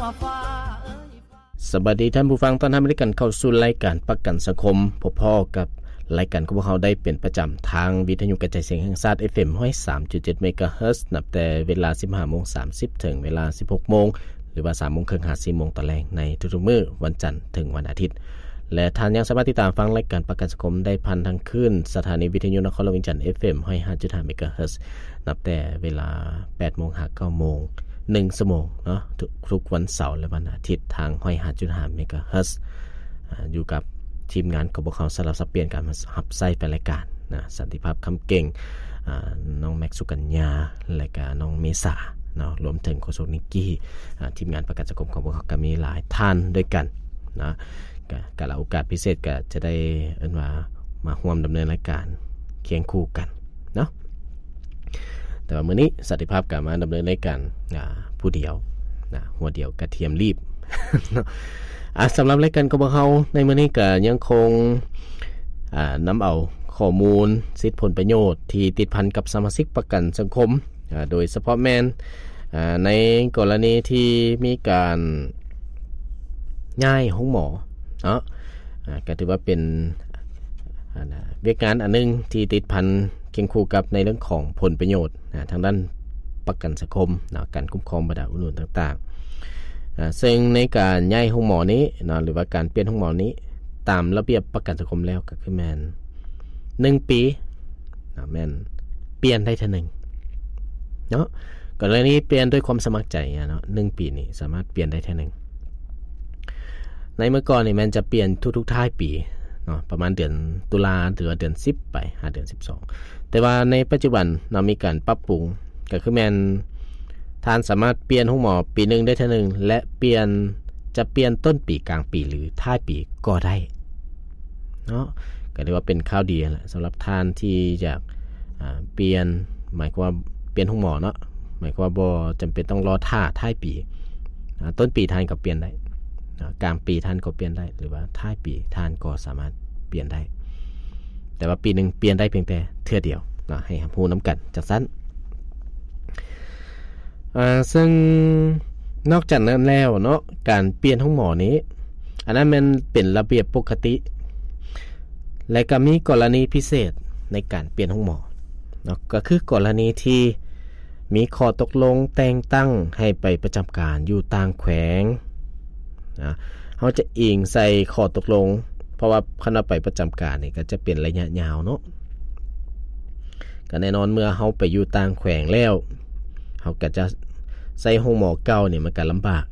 ສະບາຍດີທ່ານຜູ້ຟັງ, ຕ້ອນຮັບໃຫ້ກັນເຂົ້າສູ່ລາຍການປະກັນສັງຄົມ. ພົບພໍ້ກັບລາຍການຂອງພວກເຮົາໄດ້ເປັນປະຈຳທາງວິທະຍຸກະຈາຍສຽງແຫ່ງຊາດ ເອັຟເອັມ ຮ້ອຍສາມຈຸດເຈັດ ເມກາເຮີດ ນັບແຕ່ເວລາ ສິບຫ້າໂມງສາມສິບ ເຖິງເວລາ ສິບຫົກໂມງ ຫຼືວ່າ ສາມໂມງເຄິ່ງ ຫາ ສີ່ໂມງຕອນແລງ ໃນທຸກໆມື້ ວັນຈັນເຖິງວັນອາທິດ. ແລະ ທ່ານຍັງສາມາດຕິດຕາມຟັງລາຍການປະກັນສັງຄົມໄດ້ຜ່ານທາງຄື້ນສະຖານີວິທະຍຸນະຄອນຫຼວງວຽງຈັນ ເອັຟເອັມ ຮ້ອຍຫ້າຈຸດຫ້າ ເມກາເຮີດ ນັບແຕ່ເວລາ ແປດໂມງ ຫາ ເກົ້າໂມງ ໜຶ່ງຊົ່ວໂມງເນາະ ທຸກ ທຸກວັນເສົາ ແລະ ວັນອາທິດ ທາງ ຮ້ອຍຫ້າຈຸດຫ້າ ເມກາເຮີດ ອ່າ ຢູ່ກັບທີມງານຂອງພວກເຮົາ ສະຫຼັບສັບປ່ຽນກັນມາຮັບໃຊ້ແຟນລາຍການນະ ສັນຕິພາບ ຄຳເກັ່ງ ອ່າ ນ້ອງແມັກ ສຸກັນຍາ ແລະກະນ້ອງເມສາເນາະ ລວມເຖິງໂຄສົກນິກກີ້ ອ່າ ທີມງານປະກັນສັງຄົມຂອງພວກເຮົາກໍມີຫຼາຍທ່ານດ້ວຍກັນນະ ກະ ກາລະໂອກາດພິເສດກໍຈະໄດ້ເອີ້ນວ່າມາຮ່ວມດຳເນີນລາຍການຄຽງຄູ່ກັນເນາະ. ແຕ່ວ່າມື້ນີ້ສັນຕິພາບກໍມາດຳເນີນລາຍການ ອ່າ ຜູ້ດຽວນະ ຫົວດຽວກະທຽມລີບເນາະ. ອ່າ ສຳລັບລາຍການຂອງພວກເຮົາໃນມື້ນີ້ກໍຍັງຄົງ ອ່າ ນຳເອົາຂໍ້ມູນສິດຜົນປະໂຫຍດທີ່ຕິດພັນກັບສະມາຊິກປະກັນສັງຄົມ ອ່າ ໂດຍສະເພາະແມ່ນ ອ່າ ໃນກໍລະນີທີ່ມີການຍ້າຍໂຮງໝໍເນາະ ອ່າ ກໍຖືວ່າເປັນ ອັນນະ ວຽກງານອັນໜຶ່ງທີ່ຕິດພັນຄຽງຄູ່ກັບໃນເລື່ອງຂອງຜົນປະໂຫຍດ ນະ ທາງດ້ານປະກັນສັງຄົມເນາະ ການຄຸ້ມຄອງບັນດາອຸດໜູນຕ່າງໆ ອ່າ ເຊິ່ງໃນການຍ້າຍໂຮງໝໍນີ້ເນາະ ຫຼືວ່າການປ່ຽນໂຮງໝໍນີ້ ຕາມລະບຽບປະກັນສັງຄົມແລ້ວກໍຄືແມ່ນໜຶ່ງປີເນາະ ແມ່ນປ່ຽນໄດ້ເທື່ອໜຶ່ງເນາະ ກໍລະນີປ່ຽນດ້ວຍຄວາມສະໝັກໃຈເນາະ ໜຶ່ງປີນີ້ສາມາດປ່ຽນໄດ້ເທື່ອໜຶ່ງ. ໃນເມື່ອກ່ອນນີ້ແມ່ນຈະປ່ຽນທຸກໆທ້າຍປີເນາະ ປະມານເດືອນຕຸລາ ຫຼືວ່າເດືອນສິບໄປຫາເດືອນສິບສອງ ແຕ່ວ່າໃນປັດຈຸບັນເນາະ ມີການປັບປຸງ ກໍຄືແມ່ນທ່ານສາມາດປ່ຽນໂຮງໝໍປີໜຶ່ງໄດ້ເທື່ອໜຶ່ງ ແລະ ປ່ຽນ ຈະປ່ຽນຕົ້ນປີ ກາງປີ ຫຼື ທ້າຍປີກໍໄດ້ເນາະ ກໍຖືວ່າເປັນຂ່າວດີຫັ້ນແຫຼະ ສຳລັບທ່ານທີ່ຢາກ ອ່າ ປ່ຽນ ໝາຍຄວາມວ່າປ່ຽນໂຮງໝໍເນາະ ໝາຍຄວາມວ່າບໍ່ຈຳເປັນຕ້ອງລໍຖ້າທ້າຍປີ ອ່າ ຕົ້ນປີທ່ານກໍປ່ຽນໄດ້ ອ່າ ກາງປີທ່ານກໍປ່ຽນໄດ້ ຫຼືວ່າທ້າຍປີທ່ານກໍສາມາດປ່ຽນໄດ້ ແຕ່ວ່າປີໜຶ່ງປ່ຽນໄດ້ພຽງແຕ່ເທື່ອດຽວເນາະ ໃຫ້ຮັບຮູ້ນຳກັນຈັ່ງຊັ້ນ. ອ່າ ເຊິ່ງນອກຈາກນັ້ນແລ້ວເນາະ ການປ່ຽນໂຮງໝໍນີ້ ອັນນັ້ນແມ່ນເປັນລະບຽບປົກກະຕິ ແລະ ກໍມີກໍລະນີພິເສດໃນການປ່ຽນໂຮງໝໍເນາະ ກໍຄືກໍລະນີທີ່ມີຂໍ້ຕົກລົງແຕ່ງຕັ້ງໃຫ້ໄປປະຈຳການຢູ່ຕ່າງແຂວງ ນະ ເຮົາຈະອີງໃສ່ຂໍ້ຕົກລົງ ເພາະວ່າຄັນວ່າໄປປະຈຳການນີ້ກໍຈະເປັນໄລຍະຍາວເນາະ ກໍແນ່ນອນເມື່ອເຮົາໄປຢູ່ຕ່າງແຂວງແລ້ວ ເຮົາກໍຈະໃຊ້ໂຮງໝໍເກົ່ານີ້ມັນກໍລຳບາກ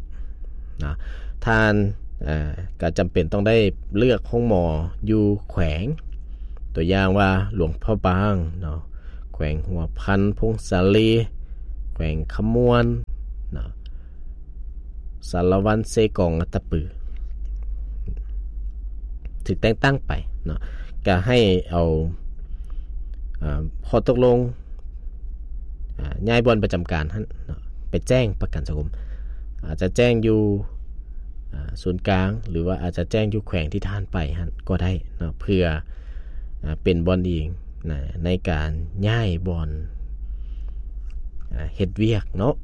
ນະ ທ່ານ ເອີ ກໍຈຳເປັນຕ້ອງໄດ້ເລືອກໂຮງໝໍຢູ່ແຂວງ ຕົວຢ່າງວ່າຫຼວງພະບາງເນາະ ແຂວງຫົວພັນ ຜົ້ງສາລີ ແຂວງຄຳມ່ວນເນາະ ສາລະວັນ ເຊກອງ ອັດຕະປື ຖືກແຕ່ງຕັ້ງໄປເນາະ ກະໃຫ້ເອົາ ອາ ຂໍ້ຕົກລົງ ອາ ຍ້າຍບ່ອນປະຈຳການຫັ້ນເນາະ ໄປແຈ້ງປະກັນສັງຄົມ ອາດຈະແຈ້ງຢູ່ ອາ ສູນກາງ ຫຼືວ່າອາດຈະແຈ້ງຢູ່ແຂວງທີ່ທ່ານໄປຫັ້ນກໍໄດ້ເນາະ ເພື່ອ ອາ ເປັນບ່ອນອີງນະ ໃນການຍ້າຍບ່ອນ ອາ ເຮັດວຽກເນາະ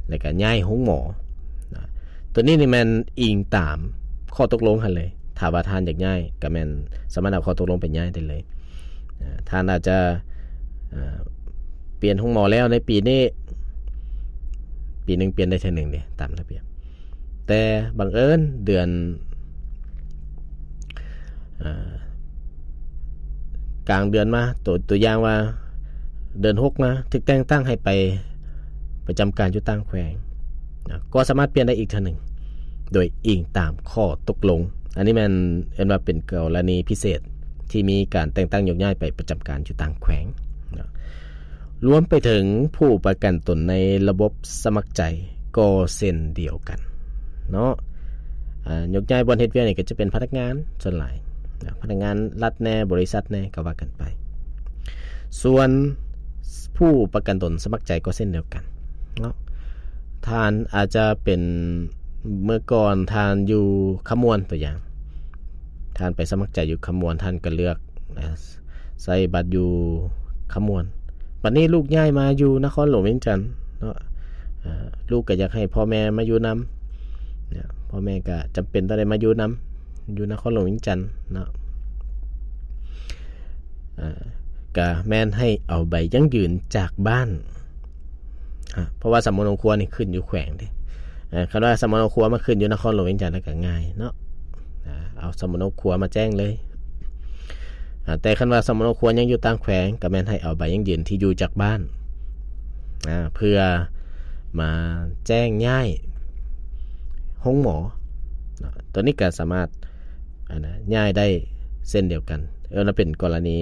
ແລ້ວກໍຍ້າຍໂຮງໝໍນະ ຕົວນີ້ນີ້ແມ່ນອີງຕາມຂໍ້ຕົກລົງຫັ້ນເລີຍ ຖ້າວ່າທ່ານຢາກຍ້າຍກໍແມ່ນສາມາດເອົາຂໍ້ຕົກລົງໄປຍ້າຍໄດ້ເລີຍ ອາ ທ່ານອາດຈະ ອາ ປ່ຽນໂຮງໝໍແລ້ວໃນປີນີ້ ປີໜຶ່ງປ່ຽນໄດ້ເທື່ອໜຶ່ງເດ້ ຕາມລະບຽບ ແຕ່ບັງເອີນເດືອນ ເອີ ກາງເດືອນມາ ຕົວ ຕົວຢ່າງວ່າເດືອນຫົກມາ ຖືກແຕ່ງຕັ້ງໃຫ້ໄປປະຈຳການຢູ່ຕ່າງແຂວງນະ ກໍສາມາດປ່ຽນໄດ້ອີກເທື່ອໜຶ່ງ ໂດຍອີງຕາມຂໍ້ຕົກລົງ ອັນນີ້ແມ່ນເອີ້ນວ່າເປັນກໍລະນີພິເສດ ທີ່ມີການແຕ່ງຕັ້ງໂຍກຍ້າຍໄປປະຈຳການຢູ່ຕ່າງແຂວງນະ ລວມໄປເຖິງຜູ້ປະກັນຕົນໃນລະບົບສະໝັກໃຈກໍເຊັ່ນດຽວກັນເນາະ ອາ ໂຍກຍ້າຍບ່ອນເຮັດວຽກນີ້ກໍຈະເປັນພະນັກງານສ່ວນຫຼາຍນະ ພະນັກງານລັດແດ່ ບໍລິສັດແດ່ ກໍວ່າກັນໄປ ສ່ວນຜູ້ປະກັນຕົນສະໝັກໃຈກໍເຊັ່ນດຽວກັນເນາະ ທ່ານອາດຈະເປັນ ເມື່ອກ່ອນທ່ານຢູ່ຄຳມ່ວນ ຕົວຢ່າງ ທ່ານໄປສະໝັກໃຈຢູ່ຄຳມ່ວນ ທ່ານກໍເລືອກ ອາ ໃຊ້ບັດຢູ່ຄຳມ່ວນ ບັດນີ້ລູກຍ້າຍມາຢູ່ນະຄອນຫຼວງວຽງຈັນເນາະ ອາ ລູກກໍຢາກໃຫ້ພໍ່ແມ່ມາຢູ່ນຳ ເນາະ ພໍ່ແມ່ກໍຈຳເປັນຕ້ອງໄດ້ມາຢູ່ນຳ ຢູ່ນະຄອນຫຼວງວຽງຈັນເນາະ ເອີ ກໍແມ່ນໃຫ້ເອົາໃບຢັ້ງຢືນຈາກບ້ານ ອາ ເພາະວ່າສຳມະໂນຄົວນີ້ຂຶ້ນຢູ່ແຂວງເດ້ ເອີ ຄັນວ່າສຳມະໂນຄົວມາຂຶ້ນຢູ່ນະຄອນຫຼວງວຽງຈັນ ກໍງ່າຍເນາະ ອາ ເອົາສຳມະໂນຄົວມາແຈ້ງເລີຍ ອາ ແຕ່ຄັນວ່າສຳມະໂນຄົວຍັງຢູ່ຕ່າງແຂວງ ກໍແມ່ນໃຫ້ເອົາໃບຢັ້ງຢືນທີ່ຢູ່ຈາກບ້ານ ອາ ເພື່ອມາແຈ້ງຍ້າຍໂຮງໝໍເນາະ ຕົວນີ້ກໍສາມາດ ອັນນະ ຍ້າຍໄດ້ເຊັ່ນດຽວກັນ ເອີ ມັນເປັນກໍລະນີ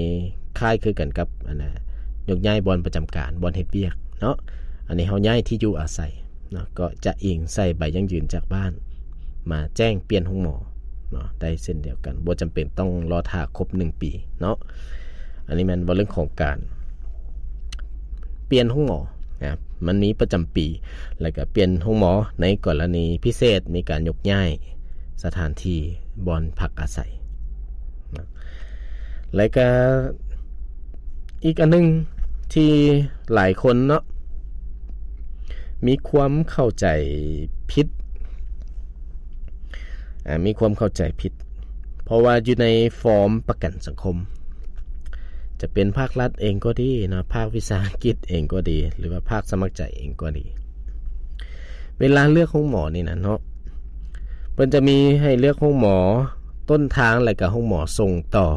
ຄ້າຍຄືກັນກັບ ອັນນະ ຍົກຍ້າຍບ່ອນປະຈຳການ ບ່ອນເຮັດວຽກເນາະ ອັນນີ້ເຮົາຍ້າຍທີ່ຢູ່ອາໄສເນາະ ກໍຈະອີງໃສ່ໃບຢັ້ງຢືນຈາກບ້ານ ມາແຈ້ງປ່ຽນໂຮງໝໍເນາະ ໄດ້ເຊັ່ນດຽວກັນ ບໍ່ຈຳເປັນຕ້ອງລໍຖ້າຄົບໜຶ່ງປີເນາະ ອັນນີ້ແມ່ນເວົ້າເລື່ອງຂອງການປ່ຽນໂຮງໝໍນະ ມັນມີປະຈຳປີ ແລ້ວກໍປ່ຽນໂຮງໝໍໃນກໍລະນີພິເສດ ມີການຍົກຍ້າຍສະຖານທີ່ບ່ອນພັກອາໄສນະ ແລ້ວກໍອີກອັນໜຶ່ງທີ່ຫຼາຍຄົນເນາະ ມີຄວາມເຂົ້າໃຈຜິດ ອາ ມີຄວາມເຂົ້າໃຈຜິດ ເພາະວ່າຢູ່ໃນຟອມປະກັນສັງຄົມ ຈະເປັນພາກລັດເອງກໍດີເນາະ ພາກວິສາຫະກິດເອງກໍດີ ຫຼືວ່າພາກສະໝັກໃຈເອງກໍດີ ເວລາເລືອກໂຮງໝໍນີ້ນະເນາະ ເພິ່ນຈະມີໃຫ້ເລືອກໂຮງໝໍຕົ້ນທາງ ແລະກະໂຮງໝໍສົ່ງຕໍ່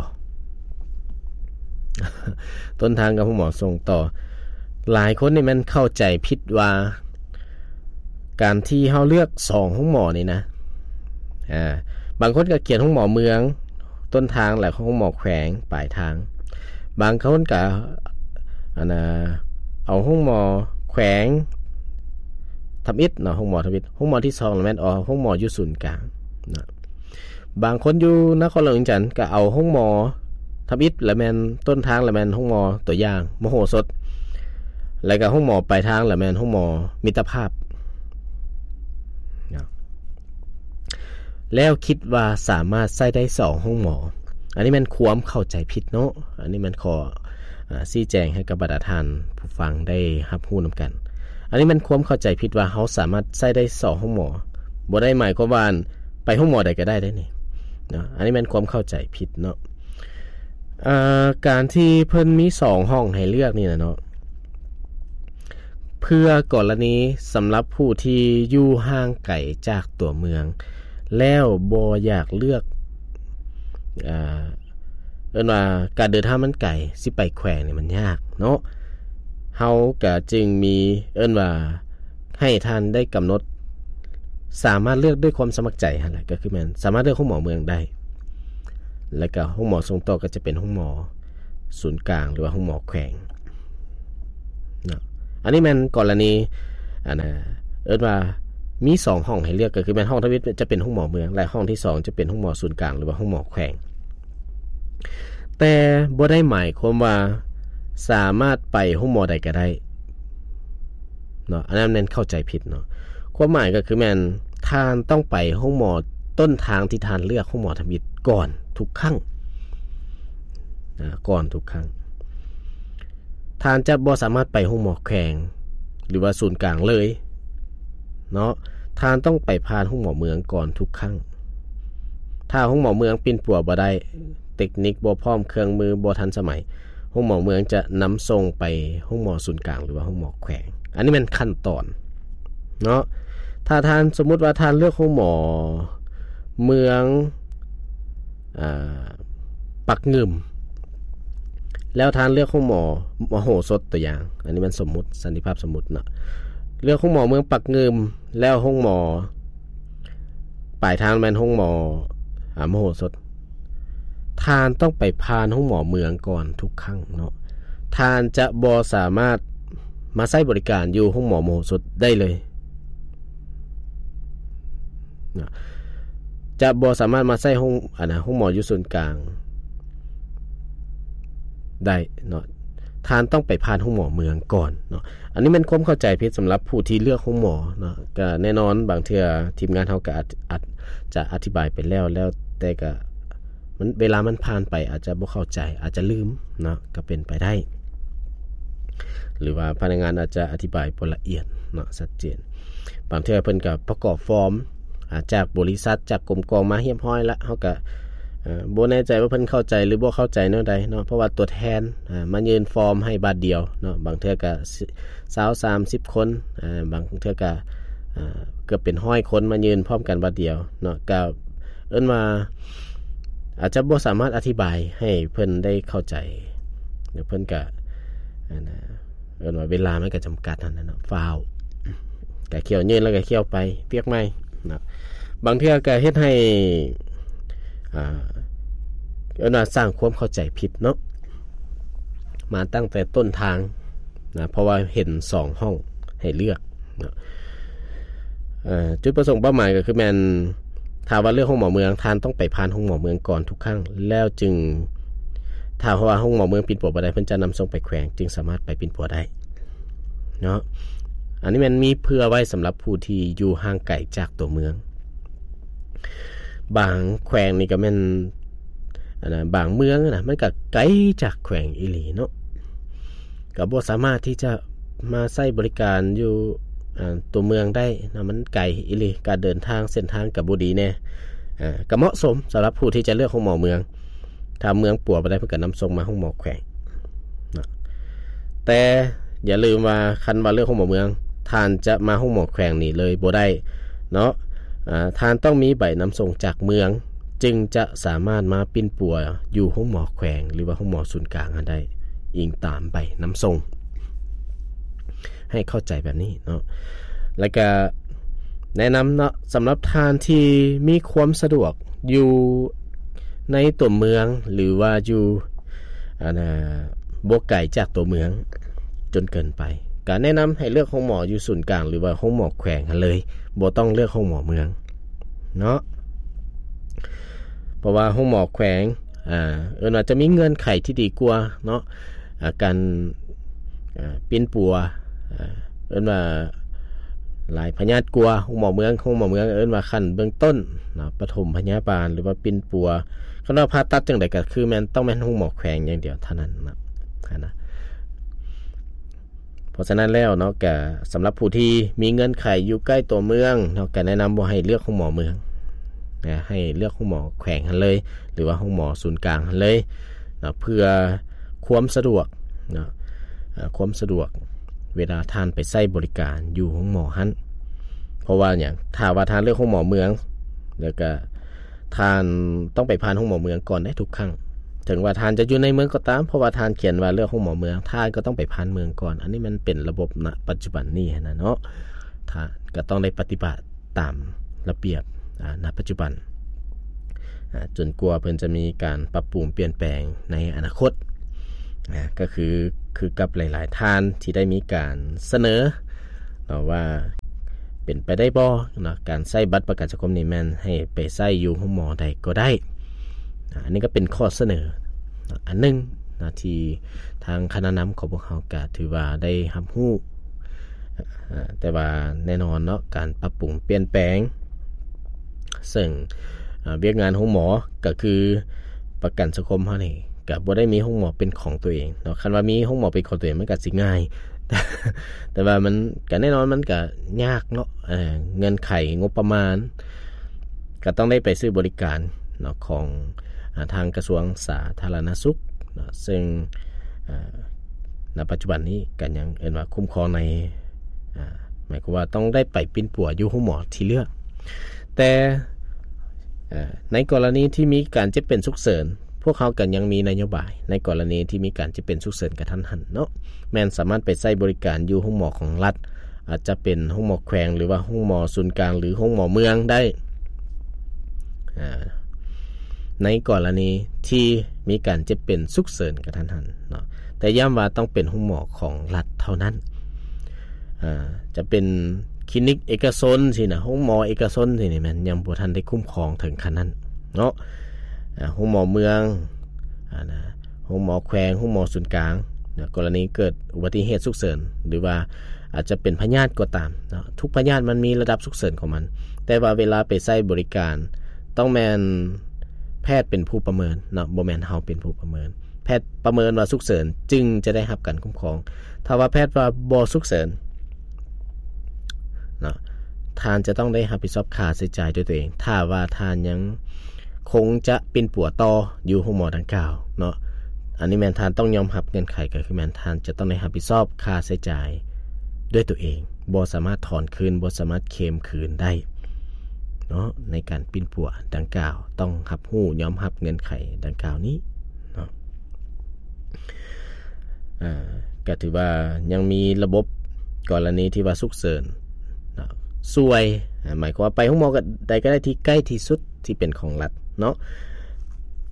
ຕົ້ນທາງກັບໂຮງໝໍສົ່ງຕໍ່ ຫຼາຍຄົນນີ້ແມ່ນເຂົ້າໃຈຜິດວ່າ ການທີ່ເຮົາເລືອກສອງໂຮງໝໍນີ້ນະ ອາ ບາງຄົນກໍຂຽນໂຮງໝໍເມືອງຕົ້ນທາງ ແລະໂຮງໝໍແຂວງປາຍທາງ ບາງຄົນກໍ ອັນນະ ເອົາໂຮງໝໍແຂວງທຳອິດເນາະ ໂຮງໝໍທຳອິດ ໂຮງໝໍທີສອງລະແມ່ນເອົາໂຮງໝໍຢູ່ສູນກາງນະ ບາງຄົນຢູ່ນະຄອນຫຼວງວຽງຈັນກໍເອົາໂຮງໝໍທຳອິດ ລະແມ່ນຕົ້ນທາງ ລະແມ່ນໂຮງໝໍຕົວຢ່າງມະໂຫສົດ ແລະກໍໂຮງໝໍປາຍທາງ ລະແມ່ນໂຮງໝໍມິດຕະພາບນະ ແລ້ວຄິດວ່າສາມາດໃຊ້ໄດ້ສອງໂຮງໝໍ ອັນນີ້ແມ່ນຄວາມເຂົ້າໃຈຜິດເນາະ ອັນນີ້ແມ່ນຂໍ ອາ ຊີ້ແຈງໃຫ້ກັບບັນດາທ່ານຜູ້ຟັງໄດ້ຮັບຮູ້ນຳກັນ ອັນນີ້ແມ່ນຄວາມເຂົ້າໃຈຜິດວ່າເຮົາສາມາດໃຊ້ໄດ້ສອງໂຮງໝໍ ບໍ່ໄດ້ໝາຍຄວາມວ່າໄປໂຮງໝໍໃດກໍໄດ້ເດ້ນີ້ເນາະ ອັນນີ້ແມ່ນຄວາມເຂົ້າໃຈຜິດເນາະ ເອີ ການທີ່ເພິ່ນມີສອງຫ້ອງໃຫ້ເລືອກນີ້ນະເນາະ ເພື່ອກໍລະນີສຳລັບຜູ້ທີ່ຢູ່ຫ່າງໄກຈາກຕົວເມືອງ ແລ້ວບໍ່ຢາກເລືອກ ເອີ ເອີ້ນວ່າການເດີນທາງມັນໄກ ຊິໄປແຂວງນີ້ມັນຍາກເນາະ ເຮົາກະຈຶ່ງມີ ເອີ້ນວ່າໃຫ້ທ່ານໄດ້ກຳນົດ ສາມາດເລືອກດ້ວຍຄວາມສະໝັກໃຈຫັ້ນແຫຼະ ກໍຄືແມ່ນສາມາດເລືອກໂຮງໝໍເມືອງໄດ້ ແລ້ວກະໂຮງໝໍສົ່ງຕໍ່ກໍຈະເປັນໂຮງໝໍສູນກາງ ຫຼືວ່າໂຮງໝໍແຂວງເນາະ ອັນນີ້ແມ່ນກໍລະນີ ອັນນະ ເອີ້ນວ່າມີສອງຫ້ອງໃຫ້ເລືອກ ກໍຄືແມ່ນຫ້ອງທຳອິດຈະເປັນໂຮງໝໍເມືອງ ແລະຫ້ອງທີສອງຈະເປັນໂຮງໝໍສູນກາງ ຫຼືວ່າໂຮງໝໍແຂວງ ແຕ່ບໍ່ໄດ້ໝາຍຄວາມວ່າສາມາດໄປໂຮງໝໍໃດກໍໄດ້ເນາະ ອັນນັ້ນແມ່ນເຂົ້າໃຈຜິດເນາະ ຄວາມໝາຍກໍຄືແມ່ນທ່ານຕ້ອງໄປໂຮງໝໍຕົ້ນທາງທີ່ທ່ານເລືອກໂຮງໝໍທຳອິດກ່ອນທຸກຄັ້ງ ອາ ກ່ອນທຸກຄັ້ງ ທ່ານຈະບໍ່ສາມາດໄປໂຮງໝໍແຂວງ ຫຼືວ່າສູນກາງເລີຍເນາະ ທ່ານຕ້ອງໄປຜ່ານໂຮງໝໍເມືອງກ່ອນທຸກຄັ້ງ ຖ້າໂຮງໝໍເມືອງປິ່ນປົວບໍ່ໄດ້ ເຕັກນິກບໍ່ພ້ອມ ເຄື່ອງມືບໍ່ທັນສະໄໝ ໂຮງໝໍເມືອງຈະນຳສົ່ງໄປໂຮງໝໍສູນກາງ ຫຼືວ່າໂຮງໝໍແຂວງ ອັນນີ້ແມ່ນຂັ້ນຕອນເນາະ ຖ້າທ່ານ ສົມມຸດວ່າທ່ານເລືອກໂຮງໝໍເມືອງ ອາ ປາກງື່ມ ແລ້ວທ່ານເລືອກໂຮງໝໍມະໂຫສົດ ຕົວຢ່າງ ອັນນີ້ແມ່ນສົມມຸດ ສັນຕິພາບສົມມຸດເນາະ ເລືອກໂຮງໝໍເມືອງປາກງື່ມ ແລ້ວໂຮງໝໍປາຍທາງແມ່ນໂຮງໝໍ ອາ ມະໂຫສົດ ທ່ານຕ້ອງໄປຜ່ານໂຮງໝໍເມືອງກ່ອນທຸກຄັ້ງເນາະ ທ່ານຈະບໍ່ສາມາດມາໃຊ້ບໍລິການຢູ່ໂຮງໝໍມະໂຫສົດໄດ້ເລີຍ ເນາະ ຈະບໍ່ສາມາດມາໃຊ້ໂຮງ ອັນນະ ໂຮງໝໍຢູ່ສູນກາງໄດ້ເນາະ ທ່ານຕ້ອງໄປຜ່ານໂຮງໝໍເມືອງກ່ອນເນາະ ອັນນີ້ແມ່ນຄວາມເຂົ້າໃຈຜິດສຳລັບຜູ້ທີ່ເລືອກໂຮງໝໍເນາະ ກະແນ່ນອນບາງເທື່ອທີມງານເຮົາກະອາດ ອາດຈະອະທິບາຍໄປແລ້ວ ແລ້ວແຕ່ກະ ມັນ ເວລາມັນຜ່ານໄປອາດຈະບໍ່ເຂົ້າໃຈ ອາດຈະລືມເນາະ ກໍເປັນໄປໄດ້ ຫຼືວ່າພະນັກງານອາດຈະອະທິບາຍບໍ່ລະອຽດເນາະ ຊັດເຈນ ບາງເທື່ອເພິ່ນກໍປະກອບຟອມ ອາ ຈາກບໍລິສັດ ຈາກກົມກອງມາຮຽບຮ້ອຍລະ ເຮົາກະ ເອີ ບໍ່ແນ່ໃຈວ່າເພິ່ນເຂົ້າໃຈ ຫຼື ບໍ່ເຂົ້າໃຈແນວໃດເນາະ ເພາະວ່າຕົວແທນ ອາ ມາຍື່ນຟອມໃຫ້ບາດດຽວເນາະ ບາງເທື່ອກະ ຊາວ ສາມສິບຄົນ ອາ ບາງເທື່ອກະ ອາ ເກືອບເປັນຮ້ອຍຄົນມາຍື່ນພ້ອມກັນບາດດຽວເນາະ ກະເອີ້ນວ່າ ອາດຈະບໍ່ສາມາດອະທິບາຍໃຫ້ເພິ່ນໄດ້ເຂົ້າໃຈ ແລ້ວເພິ່ນກະ ອັນນະ ເອີ້ນວ່າເວລາມັນກໍຈຳກັດຫັ້ນນະເນາະ ຟ້າວ ກະຂ້ຽວຍື່ນແລ້ວກະຂ້ຽວໄປວຽກໃໝ່ເນາະ ບາງເທື່ອກະເຮັດໃຫ້ ອ່າ ເອີ້ນວ່າສ້າງຄວາມເຂົ້າໃຈຜິດເນາະ ມາຕັ້ງແຕ່ຕົ້ນທາງນະ ເພາະວ່າເຫັນສອງຫ້ອງໃຫ້ເລືອກເນາະ ເອີ ຈຸດປະສົງເປົ້າໝາຍກໍຄືແມ່ນ ຖ້າວ່າເລືອກໂຮງໝໍເມືອງ ທ່ານຕ້ອງໄປຜ່ານໂຮງໝໍເມືອງກ່ອນທຸກຄັ້ງ ແລ້ວຈຶ່ງ ຖ້າວ່າໂຮງໝໍເມືອງປິ່ນປົວບໍ່ໄດ້ ເພິ່ນຈະນຳສົ່ງໄປແຂວງ ຈຶ່ງສາມາດໄປປິ່ນປົວໄດ້ເນາະ ອັນນີ້ແມ່ນມີເພື່ອໄວ້ສຳລັບຜູ້ທີ່ຢູ່ຫ່າງໄກຈາກຕົວເມືອງ ບາງແຂວງນີ້ກໍແມ່ນ ອັນນະ ບາງເມືອງນະ ມັນກໍໄກຈາກແຂວງອີ່ຫຼີເນາະ ກໍບໍ່ສາມາດທີ່ຈະມາໃຊ້ບໍລິການຢູ່ ອາ ຕົວເມືອງໄດ້ເນາະ ມັນໄກອີ່ຫຼີ ການເດີນທາງ ເສັ້ນທາງກໍບໍ່ດີແດ່ ອາ ກໍເໝາະສົມສຳລັບຜູ້ທີ່ຈະເລືອກໂຮງໝໍເມືອງ ຖ້າເມືອງປົວບໍ່ໄດ້ ເພິ່ນກໍນຳສົ່ງມາໂຮງໝໍແຂວງເນາະ ແຕ່ຢ່າລືມວ່າ ຄັນວ່າເລືອກໂຮງໝໍເມືອງ ທ່ານຈະມາໂຮງໝໍແຂວງນີ້ເລີຍບໍ່ໄດ້ເນາະ ອາ ທ່ານຕ້ອງມີໃບນຳສົ່ງຈາກເມືອງ ຈຶ່ງຈະສາມາດມາປິ່ນປົວຢູ່ໂຮງໝໍແຂວງ ຫຼືວ່າໂຮງໝໍສູນກາງຫັ້ນໄດ້ ອີງຕາມໃບນຳສົ່ງ ໃຫ້ເຂົ້າໃຈແບບນີ້ເນາະ ແລ້ວກະແນະນຳເນາະ ສຳລັບທ່ານທີ່ມີຄວາມສະດວກຢູ່ໃນຕົວເມືອງ ຫຼືວ່າຢູ່ ອັນນະ ບໍ່ໄກຈາກຕົວເມືອງຈົນເກີນໄປ ກະແນະນຳໃຫ້ເລືອກໂຮງໝໍຢູ່ສູນກາງ ຫຼືວ່າໂຮງໝໍແຂວງຫັ້ນເລີຍ ບໍ່ຕ້ອງເລືອກໂຮງໝໍເມືອງເນາະ ເພາະວ່າໂຮງໝໍແຂວງ ອາ ເອີ້ນວ່າຈະມີເງື່ອນໄຂທີ່ດີກວ່າເນາະ ອາ ການ ເອີ ປິ່ນປົວ ເອີ ເອີ້ນວ່າຫຼາຍພະຍາດກວ່າໂຮງໝໍເມືອງ ໂຮງໝໍເມືອງເອີ້ນວ່າຂັ້ນເບື້ອງຕົ້ນເນາະ ປະຖົມພະຍາບານ ຫຼືວ່າປິ່ນປົວ ຄັນວ່າຜ່າຕັດຈັ່ງໃດກໍຄືແມ່ນ ຕ້ອງແມ່ນໂຮງໝໍແຂວງຢ່າງດຽວເທົ່ານັ້ນເນາະ ຫັ້ນນະ ເພາະສະນັ້ນແລ້ວເນາະ ກະສຳລັບຜູ້ທີ່ມີເງື່ອນໄຂຢູ່ໃກ້ຕົວເມືອງເນາະ ກະແນະນຳວ່າໃຫ້ເລືອກໂຮງໝໍເມືອງນະ ໃຫ້ເລືອກໂຮງໝໍແຂວງຫັ້ນເລີຍ ຫຼືວ່າໂຮງໝໍສູນກາງຫັ້ນເລີຍເນາະ ເພື່ອຄວາມສະດວກເນາະ ເອີ ຄວາມສະດວກເວລາທ່ານໄປໃຊ້ບໍລິການຢູ່ໂຮງໝໍຫັ້ນ ເພາະວ່າຫຍັງ ຖ້າວ່າທ່ານເລືອກໂຮງໝໍເມືອງ ແລ້ວກະ ທ່ານຕ້ອງໄປຜ່ານໂຮງໝໍເມືອງກ່ອນໄດ້ທຸກຄັ້ງ ເຖິງວ່າທ່ານຈະຢູ່ໃນເມືອງກໍຕາມ ເພາະວ່າທ່ານຂຽນວ່າເລືອກໂຮງໝໍເມືອງ ທ່ານກໍຕ້ອງໄປຜ່ານເມືອງກ່ອນ ອັນນີ້ມັນເປັນລະບົບນະປັດຈຸບັນນີ້ຫັ້ນນະເນາະ ທ່ານກໍຕ້ອງໄດ້ປະຕິບັດຕາມລະບຽບ ອາ ນະປັດຈຸບັນ ອາ ຈົນກວ່າເພິ່ນຈະມີການປັບປຸງປ່ຽນແປງໃນອະນາຄົດ ອາ ກໍຄື ຄືກັບຫຼາຍໆທ່ານທີ່ໄດ້ມີການສະເໜີ ເນາະ ວ່າເປັນໄປໄດ້ບໍ່ເນາະ ການໃຊ້ບັດປະກັນສັງຄົມນີ້ແມ່ນໃຫ້ໄປໃຊ້ຢູ່ໂຮງໝໍໃດກໍໄດ້ ອາ ອັນນີ້ກໍເປັນຂໍ້ສະເໜີເນາະ ອັນໜຶ່ງເນາະ ທີ່ທາງຄະນະນຳຂອງພວກເຮົາກໍຖືວ່າໄດ້ຮັບຮູ້ ອາ ແຕ່ວ່າແນ່ນອນເນາະ ການປັບປຸງປ່ຽນແປງ ເຊິ່ງ ອາ ວຽກງານໂຮງໝໍກໍຄືປະກັນສັງຄົມເຮົານີ້ ກະບໍ່ໄດ້ມີໂຮງໝໍເປັນຂອງຕົວເອງເນາະ ຄັນວ່າມີໂຮງໝໍເປັນຂອງຕົວເອງມັນກະຊິງ່າຍ ແຕ່ວ່າມັນກະແນ່ນອນມັນກະຍາກເນາະ ເອີ ເງື່ອນໄຂງົບປະມານ ກະຕ້ອງໄດ້ໄປຊື້ບໍລິການເນາະ ຂອງ ອາ ທາງກະຊວງສາທາລະນະສຸກເນາະ ເຊິ່ງ ອາ ນະປັດຈຸບັນນີ້ກະຍັງເອີ້ນວ່າຄຸ້ມຄອງໃນ ອາ ໝາຍຄວາມວ່າຕ້ອງໄດ້ໄປປິ່ນປົວຢູ່ໂຮງໝໍທີ່ເລືອກ ແຕ່ ເອີ ໃນກໍລະນີທີ່ມີການເຈັບເປັນສຸກເສີນ ພວກເຮົາກໍຍັງມີນະໂຍບາຍ ໃນກໍລະນີທີ່ມີການເຈັບເປັນສຸກເສີນກະທັນຫັນເນາະ ແມ່ນສາມາດໄປໃຊ້ບໍລິການຢູ່ໂຮງໝໍຂອງລັດ ອາດຈະເປັນໂຮງໝໍແຂວງ ຫຼືວ່າໂຮງໝໍສູນກາງ ຫຼືໂຮງໝໍເມືອງໄດ້ ອາ ໃນກໍລະນີທີ່ມີການເຈັບເປັນສຸກເສີນກະທັນຫັນເນາະ ແຕ່ຢ້ຳວ່າຕ້ອງເປັນໂຮງໝໍຂອງລັດເທົ່ານັ້ນ ອາ ຈະເປັນຄລີນິກເອກະຊົນຊີ້ນະ ໂຮງໝໍເອກະຊົນຊີ້ນີ້ແມ່ນຍັງບໍ່ທັນໄດ້ຄຸ້ມຄອງເຖິງຂັ້ນນັ້ນເນາະ ອາ ໂຮງໝໍເມືອງ ອາ ນະ ໂຮງໝໍແຂວງ ໂຮງໝໍສູນກາງນະ ກໍລະນີເກີດອຸບັດຕິເຫດສຸກເສີນ ຫຼືວ່າອາດຈະເປັນພະຍາດກໍຕາມເນາະ ທຸກພະຍາດມັນມີລະດັບສຸກເສີນຂອງມັນ ແຕ່ວ່າເວລາໄປໃຊ້ບໍລິການ ຕ້ອງແມ່ນແພດເປັນຜູ້ປະເມີນເນາະ ບໍ່ແມ່ນເຮົາເປັນຜູ້ປະເມີນ ແພດປະເມີນວ່າສຸກເສີນຈຶ່ງຈະໄດ້ຮັບການຄຸ້ມຄອງ ຖ້າວ່າແພດວ່າບໍ່ສຸກເສີນເນາະ ທ່ານຈະຕ້ອງໄດ້ຮັບຜິດຊອບຄ່າໃຊ້ຈ່າຍດ້ວຍຕົວເອງ. ຖ້າວ່າທ່ານຍັງຄົງຈະປິ່ນປົວຕໍ່ຢູ່ໂຮງໝໍດັ່ງກ່າວເນາະ, ອັນນີ້ແມ່ນທ່ານຕ້ອງຍອມຮັບເງື່ອນໄຂ ກໍຄືແມ່ນທ່ານຈະຕ້ອງໄດ້ຮັບຜິດຊອບຄ່າໃຊ້ຈ່າຍດ້ວຍຕົວເອງ, ບໍ່ສາມາດຖອນຄືນ, ບໍ່ສາມາດເຄມຄືນໄດ້ເນາະ. ໃນການປິ່ນປົວດັ່ງກ່າວ ຕ້ອງຮັບຮູ້ຍອມຮັບເງື່ອນໄຂດັ່ງກ່າວນີ້ເນາະ. ອ່າ ກໍຖືວ່າຍັງມີລະບົບກໍລະນີທີ່ວ່າສຸກເສີນເນາະ ຊ່ວຍ ອ່າ ໝາຍຄວາມວ່າໄປໂຮງໝໍກໍ ໃດກໍໄດ້ທີ່ໃກ້ທີ່ສຸດທີ່ເປັນຂອງລັດເນາະ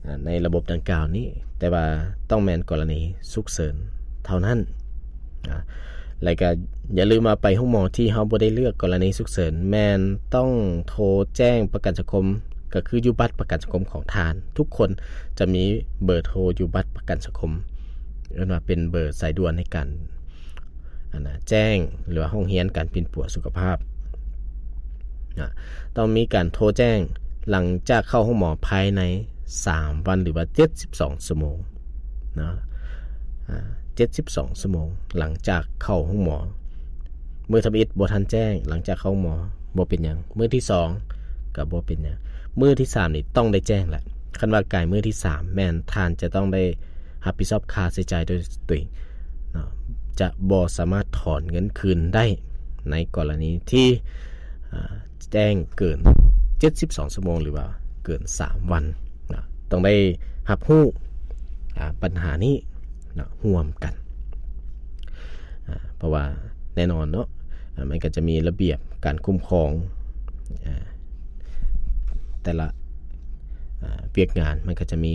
ອ່າ ໃນລະບົບດັ່ງກ່າວນີ້, ແຕ່ວ່າຕ້ອງແມ່ນກໍລະນີສຸກເສີນເທົ່ານັ້ນ ອ່າ ແລະກະຢ່າລືມວ່າໄປໂຮງໝໍທີ່ເຮົາບໍ່ໄດ້ເລືອກກໍລະນີສຸກເສີນ ແມ່ນຕ້ອງໂທແຈ້ງປະກັນສັງຄົມ ກໍຄືຢູ່ບັດປະກັນສັງຄົມຂອງທ່ານ. ທຸກຄົນຈະມີເບີໂທຢູ່ບັດປະກັນສັງຄົມ, ເອີ້ນວ່າເປັນເບີສາຍດ່ວນໃນການ ອັນນ່າ ແຈ້ງ ຫຼືວ່າຮ້ອງຮຽນການປິ່ນປົວສຸຂະພາບນະ. ຕ້ອງມີການໂທແຈ້ງຫຼັງຈາກເຂົ້າໂຮງໝໍພາຍໃນສາມວັນ ຫຼືວ່າເຈັດສິບສອງຊົ່ວໂມງນະ, ອ່າ ເຈັດສິບສອງຊົ່ວໂມງຫຼັງຈາກເຂົ້າໂຮງໝໍ. ມື້ທຳອິດບໍ່ທັນແຈ້ງ ຫຼັງຈາກເຂົ້າໂຮງໝໍບໍ່ເປັນຫຍັງ, ມື້ທີສອງກໍບໍ່ເປັນຫຍັງ, ມື້ທີສາມນີ້ຕ້ອງໄດ້ແຈ້ງແຫຼະ. ຄັນວ່າກາຍມື້ທີສາມ ແມ່ນທ່ານຈະຕ້ອງໄດ້ຮັບຜິດຊອບຄ່າໃຊ້ຈ່າຍໂດຍຕົວເອງເນາະ, ຈະບໍ່ສາມາດຖອນເງິນຄືນໄດ້ໃນກໍລະນີທີ່ ອ່າ ແຈ້ງເກີນເຈັດສິບສອງຊົ່ວໂມງ ຫຼືວ່າເກີນສາມວັນນະ. ຕ້ອງໄດ້ຮັບຮູ້ ອ່າ ບັນຫານີ້ນະ ຮ່ວມກັນ ອ່າ ເພາະວ່າແນ່ນອນເນາະ ອ່າ ມັນກໍຈະມີລະບຽບການຄຸ້ມຄອງ ອ່າ ແຕ່ລະ ອ່າ ວຽກງານ ມັນກໍຈະມີ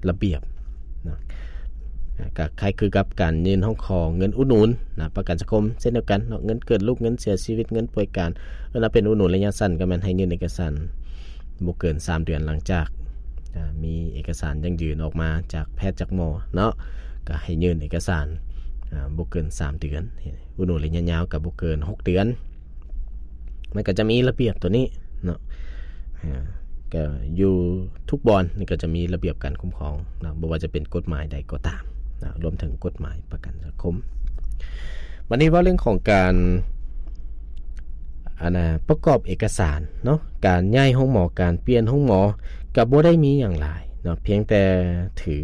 ລະບຽບນະ. ອ່າ ກໍຄ້າຍຄືກັບການຍື່ນຮ້ອງຂໍເງິນອຸດໜູນນະ ປະກັນສັງຄົມເຊັ່ນດຽວກັນເນາະ, ເງິນເກີດລູກ, ເງິນເສຍຊີວິດ, ເງິນປ່ວຍການ, ເອີ້ນວ່າເປັນອຸດໜູນໄລຍະສັ້ນ ກໍແມ່ນໃຫ້ຍື່ນເອກະສານບໍ່ເກີນສາມເດືອນຫຼັງຈາກ ອ່າ ມີເອກະສານຢັ້ງຢືນອອກມາຈາກແພດຈາກໝໍເນາະ, ກໍໃຫ້ຍື່ນເອກະສານ ອ່າ ບໍ່ເກີນສາມເດືອນ, ອຸດໜູນໄລຍະຍາວກໍບໍ່ເກີນຫົກເດືອນ. ມັນກໍຈະມີລະບຽບຕົວນີ້ເນາະ ອ່າ ກໍຢູ່ທຸກບ່ອນນີ້ກໍຈະມີລະບຽບການຄຸ້ມຄອງເນາະ, ບໍ່ວ່າຈະເປັນກົດໝາຍໃດກໍຕາມເນາະ, ລວມເຖິງກົດໝາຍປະກັນສັງຄົມ. ບັດນີ້ເວົ້າເລື່ອງຂອງການ ອັນນ່າ ປະກອບເອກະສານເນາະ, ການຍ້າຍໂຮງໝໍ, ການປ່ຽນໂຮງໝໍ ກໍບໍ່ໄດ້ມີຫຍັງຫຼາຍເນາະ, ພຽງແຕ່ຖື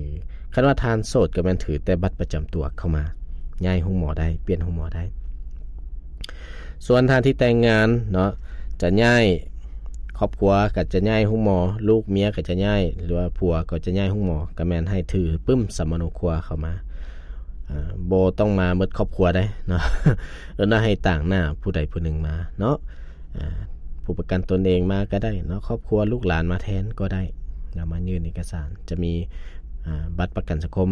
ຄັນວ່າທ່ານໂສດກໍແມ່ນຖືແຕ່ບັດປະຈຳຕົວເຂົ້າມາ, ຍ້າຍໂຮງໝໍໄດ້, ປ່ຽນໂຮງໝໍໄດ້. ສ່ວນທ່ານທີ່ແຕ່ງງານເນາະ ຈະຍ້າຍ ຄອບຄົວກໍຈະຍ້າຍໂຮງໝໍ, ລູກເມຍກໍຈະຍ້າຍ ຫຼືວ່າຜົວກໍຈະຍ້າຍໂຮງໝໍ, ກໍແມ່ນໃຫ້ຖືປຶ້ມສຳມະໂນຄົວເຂົ້າມາ, ອ່າ ບໍ່ຕ້ອງມາໝົດຄອບຄົວໃດເນາະ, ເອີ້ນວ່າໃຫ້ຕາງໜ້າຜູ້ໃດຜູ້ໜຶ່ງມາເນາະ, ອ່າ ຜູ້ປະກັນຕົນເອງມາກໍໄດ້ເນາະ, ຄອບຄົວລູກຫຼານມາແທນກໍໄດ້ເນາະ, ມາຍື່ນເອກະສານ. ຈະມີ ອ່າ ບັດປະກັນສັງຄົມ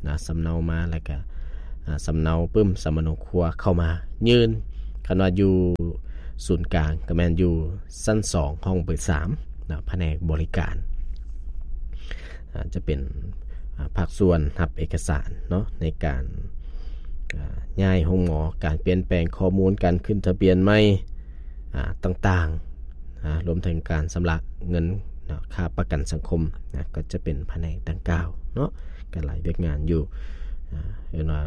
ນະ ສຳເນົາມາ ແລ້ວກະ ອ່າ ສຳເນົາປຶ້ມສຳມະໂນຄົວເຂົ້າມາຍື່ນ. ຄັນວ່າຢູ່ສູນກາງກໍແມ່ນຢູ່ຊັ້ນສອງ ຫ້ອງເບີສາມນະ ພະແນກບໍລິການ ອ່າ ຈະເປັນ ອ່າ ພາກສ່ວນຮັບເອກະສານເນາະ ໃນການ ອ່າ ຍ້າຍໂຮງໝໍ, ການປ່ຽນແປງຂໍ້ມູນ, ການຂຶ້ນທະບຽນໃໝ່ ອ່າ ຕ່າງໆ ອ່າ ລວມເຖິງການຊຳລະເງິນເນາະ ຄ່າປະກັນສັງຄົມນະ ກໍຈະເປັນພະແນກດັ່ງກ່າວເນາະ, ກໍຫຼາຍວຽກງານຢູ່ ອ່າ ເອີ້ນວ່າ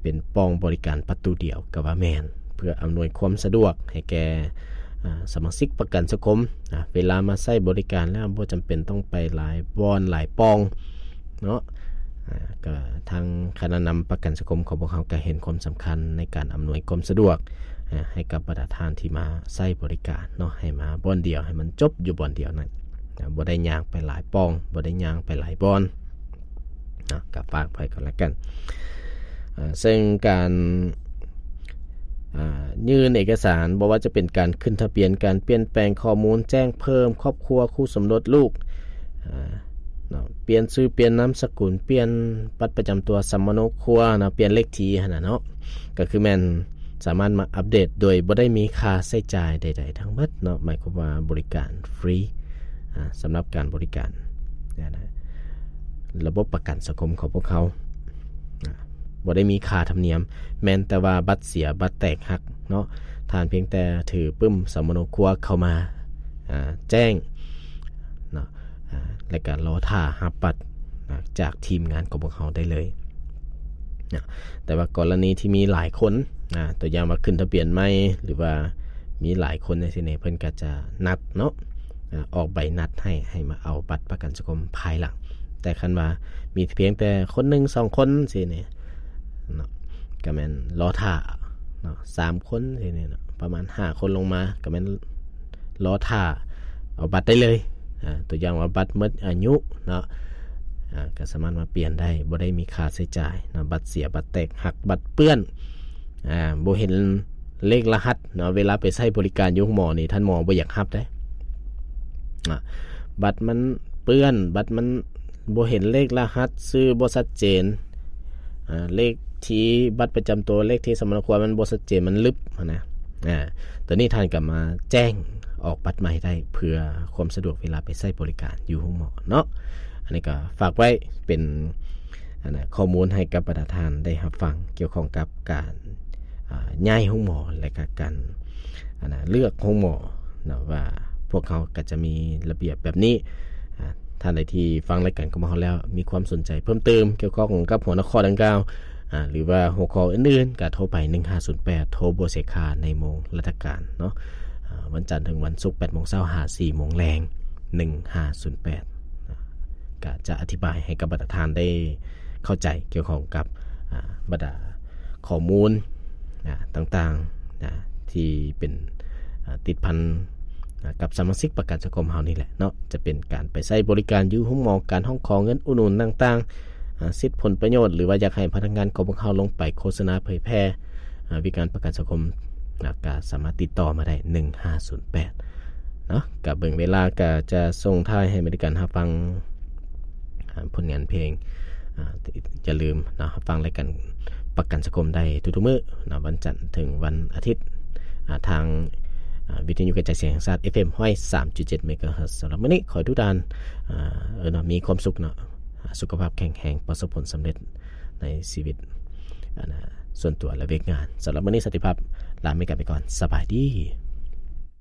ເປັນປ່ອງບໍລິການປະຕູດຽວກໍວ່າແມ່ນ, ເພື່ອອຳນວຍຄວາມສະດວກໃຫ້ແກ່ ອ່າ ສະມາຊິກປະກັນສັງຄົມນະ, ເວລາມາໃຊ້ບໍລິການແລ້ວບໍ່ຈຳເປັນຕ້ອງໄປຫຼາຍບ່ອນຫຼາຍປ່ອງ ເນາະ ອ່າ ກໍທາງຄະນະນຳປະກັນສັງຄົມຂອງພວກເຮົາກໍເຫັນຄວາມສຳຄັນໃນການອຳນວຍຄວາມສະດວກ ອ່າ ໃຫ້ກັບບັນດາທ່ານທີ່ມາໃຊ້ບໍລິການເນາະ, ໃຫ້ມາບ່ອນດຽວ ໃຫ້ມັນຈົບຢູ່ບ່ອນດຽວນັ້ນ ອ່າ ບໍ່ໄດ້ຍ່າງໄປຫຼາຍປ່ອງ ບໍ່ໄດ້ຍ່າງໄປຫຼາຍບ່ອນເນາະ, ກໍຝາກໄວ້ກໍແລ້ວກັນ. ອ່າ ເຊິ່ງການ ອ່າ ຍື່ນເອກະສານ ບໍ່ວ່າຈະເປັນການຂຶ້ນທະບຽນ, ການປ່ຽນແປງຂໍ້ມູນ, ແຈ້ງເພີ່ມຄອບຄົວ, ຄູ່ສົມລົດ, ລູກ ອ່າ ເນາະ, ປ່ຽນຊື່, ປ່ຽນນາມສະກຸນ, ປ່ຽນບັດປະຈຳຕົວ, ສຳມະໂນຄົວເນາະ, ປ່ຽນເລກທີຫັ້ນນະເນາະ, ກໍຄືແມ່ນສາມາດມາອັບເດດໂດຍບໍ່ໄດ້ມີຄ່າໃຊ້ຈ່າຍໃດໆທັງໝົດເນາະ, ໝາຍຄວາມວ່າບໍລິການຟຣີ ອ່າ ສຳລັບການບໍລິການ ລະບົບປະກັນສັງຄົມຂອງພວກເຮົາ ອ່າ ບໍ່ໄດ້ມີຄ່າທຳນຽມ, ແມ່ນແຕ່ວ່າບັດເສຍ, ບັດແຕກຫັກເນາະ, ທ່ານພຽງແຕ່ຖືປຶ້ມສຳມະໂນຄົວເຂົ້າມາ ອ່າ ແຈ້ງເນາະ ອ່າ ແລະກະລໍຖ້າຮັບບັດ ອ່າ ຈາກທີມງານຂອງພວກເຮົາໄດ້ເລີຍເນາະ. ແຕ່ວ່າກໍລະນີທີ່ມີຫຼາຍຄົນ ອ່າ ຕົວຢ່າງວ່າຂຶ້ນທະບຽນໃໝ່ ຫຼືວ່າ ມີຫຼາຍຄົນຈັ່ງຊີ້ນີ້ ເພິ່ນກໍຈະນັດເນາະ ອາ ອອກໃບນັດໃຫ້ ໃຫ້ມາເອົາບັດປະກັນສັງຄົມພາຍຫຼັງ. ແຕ່ຄັນວ່າມີພຽງແຕ່ຄົນໜຶ່ງສອງຄົນຊີ້ນີ້ເນາະ ກໍແມ່ນລໍຖ້າເນາະ ສາມຄົນຊີ້ນີ້ເນາະ ປະມານຫ້າຄົນລົງມາ ກໍແມ່ນລໍຖ້າເອົາບັດໄດ້ເລີຍ. ອາ ຕົວຢ່າງວ່າບັດໝົດອາຍຸເນາະ ອາ ກໍສາມາດມາປ່ຽນໄດ້ ບໍ່ໄດ້ມີຄ່າໃຊ້ຈ່າຍເນາະ. ບັດເສຍ ບັດແຕກຫັກ ບັດເປື້ອນ ອາ ບໍ່ເຫັນເລກລະຫັດເນາະ ເວລາໄປໃຊ້ບໍລິການຢູ່ໂຮງໝໍນີ້ ທ່ານໝໍບໍ່ຢາກຮັບເດ້. ອາ ບັດມັນເປື້ອນ ບັດມັນບໍ່ເຫັນເລກລະຫັດ ຊື່ບໍ່ຊັດເຈນ ອາ ເລກທີ່ບັດປະຈຳຕົວ ເລກທີ່ສຳມະນາຄົວ ມັນບໍ່ຊັດເຈນ ມັນລຶບຫັ້ນນະ. ອາ ຕົວນີ້ທ່ານກໍມາແຈ້ງອອກບັດໃໝ່ໄດ້ ເພື່ອຄວາມສະດວກເວລາໄປໃຊ້ບໍລິການຢູ່ໂຮງໝໍເນາະ. ອັນນີ້ກໍຝາກໄວ້ເປັນ ອັນນະ ຂໍ້ມູນໃຫ້ກັບບັນດາທ່ານໄດ້ຮັບຟັງ ກ່ຽວຂ້ອງກັບການ ອາ ຍ້າຍໂຮງໝໍ ແລະກະການ ອັນນະ ເລືອກໂຮງໝໍເນາະ ວ່າພວກເຮົາກໍຈະມີລະບຽບແບບນີ້. ອາ ທ່ານໃດທີ່ຟັງລາຍການຂອງພວກເຮົາແລ້ວ ມີຄວາມສົນໃຈເພີ່ມເຕີມກ່ຽວຂ້ອງກັບຫົວຂໍ້ດັ່ງກ່າວ ອາ ຫຼືວ່າຫົວຂໍ້ອື່ນໆ ກໍໂທໄປໜຶ່ງຫ້າສູນແປດ ໂທບໍ່ເສຍຄ່າໃນໂມງລາຊະການເນາະ. ອາ ວັນຈັນເຖິງວັນສຸກ ແປດໂມງເຊົ້າຫາສີ່ໂມງແລງ ໜຶ່ງຫ້າສູນແປດ ອາ ກໍຈະອະທິບາຍໃຫ້ກັບບັນດາທ່ານໄດ້ເຂົ້າໃຈກ່ຽວຂ້ອງກັບ ອາ ບັນດາຂໍ້ມູນ ອາ ຕ່າງໆ ອາ ທີ່ເປັນ ອາ ຕິດພັນ ອາ ກັບສະມາຊິກປະກັນສັງຄົມເຮົານີ້ແຫຼະເນາະ. ຈະເປັນການໄປໃຊ້ບໍລິການຢູ່ໂຮງໝໍ, ການຮ້ອງຂໍເງິນອຸດໜູນຕ່າງໆ ອາ ສິດຜົນປະໂຫຍດ ຫຼືວ່າຢາກໃຫ້ພະນັກງານຂອງພວກເຮົາລົງໄປໂຄສະນາເຜີຍແຜ່ ອາ ວິການປະກັນສັງຄົມ ອາ ກໍສາມາດຕິດຕໍ່ມາໄດ້ ໜຶ່ງຫ້າສູນແປດເນາະ. ກະເບິ່ງເວລາ ກະຈະສົ່ງທ້າຍໃຫ້ບໍລິການຮັບຟັງ ອາ ຜົນງານເພງ. ອາ ຢ່າລືມເນາະ ຮັບຟັງລາຍການປະກັນສັງຄົມໄດ້ທຸກໆມື້ເນາະ ວັນຈັນເຖິງວັນອາທິດ ອາ ທາງ ອາ ວິທະຍຸກະຈາຍສຽງແຫ່ງຊາດ ເອັຟເອັມ ຮ້ອຍສາມຈຸດເຈັດ ເມກາເຮີດ. ສຳລັບມື້ນີ້ ຂໍໃຫ້ທຸກທ່ານ ອາ ເອີເນາະ ມີຄວາມສຸກເນາະ ອາ ສຸຂະພາບແຂງແຮງ ປະສົບຜົນສຳເລັດໃນຊີວິດ ອັນນະ ສ່ວນຕົວ ແລະ ວຽກງານ. ສຳລັບມື້ນີ້ ສັນຕິພາບ ລາເມກາໄປກ່ອນ. ສະບາຍດີ.